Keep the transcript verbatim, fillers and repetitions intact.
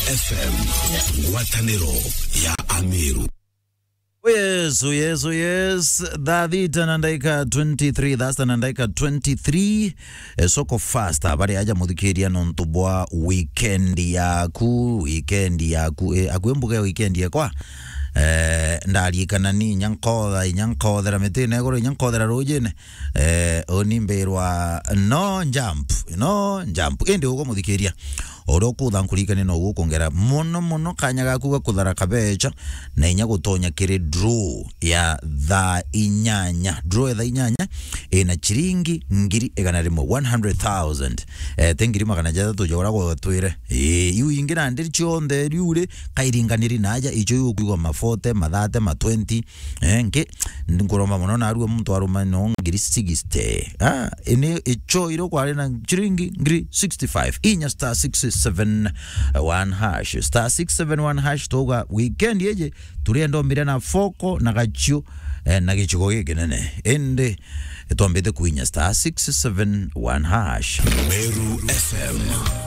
F M, ngwatanĩro ya Ameru. Yes, yes, yes. Thaa thita na ndaika twenty-three, thaa sita na ndaika twenty-three. E, soko fast, bari aja muthikiria nontu bwa weekend yaku, weekend yaku, e, akue mbuga ya weekend yakwa. E, ndarikana ni inya nkotha, inya nkothera mitine iguru, inya nkothera rujine. E, uni mbirwa no jump, no jump. Indi ugo muthikiria. Uria ukutha nkurikania no gukongera mono mono kanya gaku ga kuthara kabecha na inya gutonya kiri draw ya thaa inyanya. Draw ya thaa inyanya ina chiringi ngiri igana rimwe, one hundred thousand. Eh, ti ngiri magana jathatu ja uria gwatwire. Eh, iu ingi nandi cionthe riu ri kairinganiri naja icho iu ukwigua ma forty, ma thirty, ma twenty. Eh, nki, nkuromba mono narua muntu aruma no ngiri sixty. Ah, ini icho iro kwari na chiringi ngiri sixty-five. Inya star six seven one hash. Star six seven one hash, tuga weekend yeje, turienda umbire na foko na gachio, eh, na gichigo gikinene. Indi, twambite kuinya star six seven one hash. Meru F M.